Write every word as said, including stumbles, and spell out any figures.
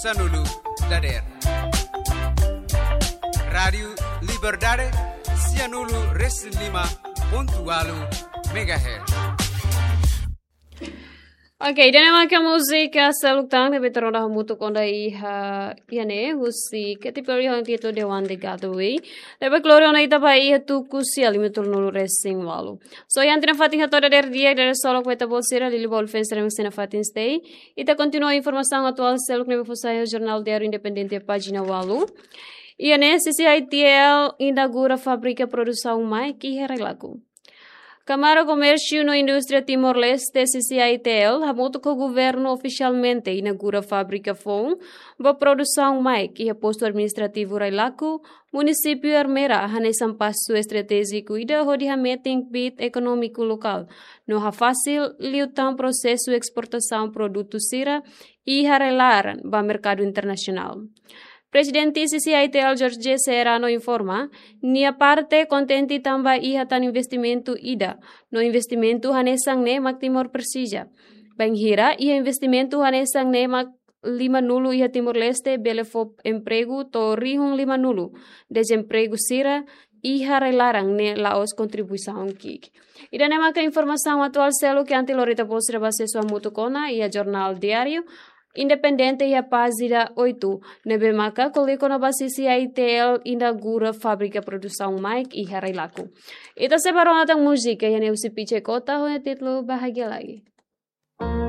Sanulu dader. Rádiu Liberdade, sianulu resin lima pontu walu megahertz. Ok, ida-ne'e maka múzika seluk tan ne'ebé to'o ona hamutuk ona iha, iha ne'e, husi Katy Perry ho títulu The One That Got Away. Ne'ebé klore ona ita ba iha tuku sia lima tolunulu resin walu. So, iha ita-nia fatin hato'o dader di'ak, dader solok ba ita-boot sira, liuliu ba uluk fans sira mak sei iha fatin sira. Ita kontinua informasaun atuál seluk ne'ebé fó sai iha Jornál Diáriu Independente pájina walu. Iha ne'e, CCI-TL inaugura fábrika produsaun maek iha Railaco. Kámara Komérsiu no Indústria Timor-Leste, CCI-TL, hamutuk ho governu ofisialmente inaugura fábrika foun ba produsaun maek iha postu administrativu Railaco, munisípiu Ermera, hanesan pasu estratéjiku ida hodi hametin kbiit ekonómiku lokál no hafasil liután prosesu esportasaun produtu sira iha rai-laran ba merkadu internasionál. Prezidente CCI-TL Jorge Serrano informa, nia parte kontente tanba iha tan investimentu ida, no investimentu hanesan ne'e mak Timor presiza. Bainhira iha investimentu hanesan ne'e mak limanulu iha Timor-Leste bele fó empregu to'o rihun limanulu dezempregu sira iha rai-laran ne'e la'ós kontribuisaun ki'ik. Ida-ne'e maka informasaun atuál seluk, antes lori ita-boot sira ba asesu hamutuk ona iha Jornál Diáriu Independente iha pájina oito, ne'ebé maka ko'alia kona-ba CCI-TL inaugura fábrika produsaun maek iha Railaco. Ita sei ba rona tan múzika iha ne'e husi Piche Kota ho títulu Bahagia Lagi.